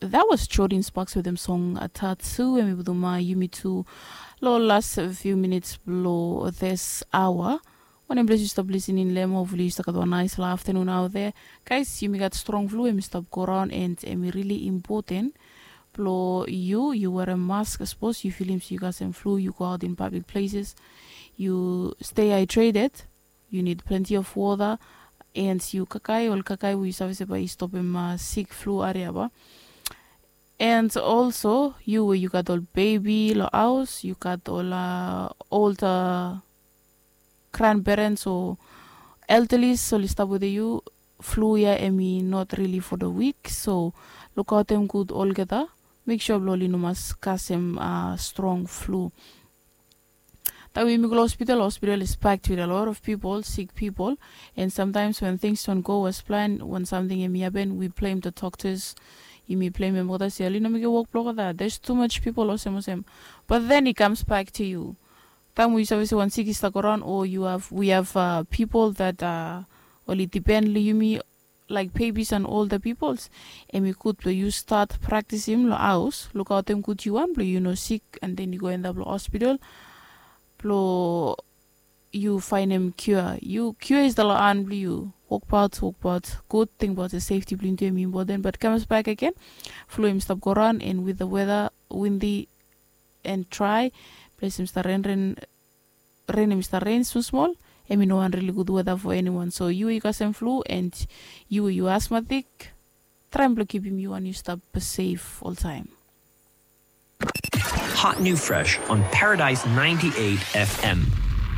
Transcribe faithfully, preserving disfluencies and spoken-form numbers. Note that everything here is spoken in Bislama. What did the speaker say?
That was Jordan Sparks wetem song Tattoo, em i putum yumi tu long last few minutes blo this hour. Wanem ples yu stap listening long em, hopefully yu stap gat wan nice long afternoon out there. Guys, yumi gat strong flu em i stap go around and em i really important blo yu yu werim mask. Sapos yu filim se yu gat sem flu, yu go out in public places, yu stay hydrated, yu need plenty of water, and yu kakae ol kakae we yu save se bae i stopim sik flu aria ba. And also yu we yu gat ol bebi long haos, yu gat ol older grandparents o elderlies oli stap wetem yu, flu ya em i not really for the weak. So lukaotem gud olgeta, mek sua blong oli no mas kasem strong flu. Taem we yumi go long hospital, hospital is packed with a lot of people, sick people. And sometimes when things don't go as planned, when something em i happen, we blame the doctors. Yumi blame em olgeta se oli no mekem wok blong olgeta, there's too much people, olsem olsem. But then it comes back to you. Taem we yu save se wan sik i stap go around, o yu have we have people that oli depend long yumi, like babies and older peoples, em i gud blong yu stat praktisim long haos, lukaotem gud yu wan blong yu no sik and then yu go endap long hospital blong yu faenem cure. Yu cure is the long han blong yu. Wokbaot, wokbaot gud, tingbaot se safety blong yu tu em i important. But comes back again, flu em i stap go around and with the weather windy and dry, ples em i stap renren, ren em i stap ren smol smol, em i no wan really good weather for anyone. So yu we yu kasem flu and yu we yu asthmatic, traem blong kipim yu wan yu stap safe oltaem. Hot new fresh on Paradise ninety-eight F M.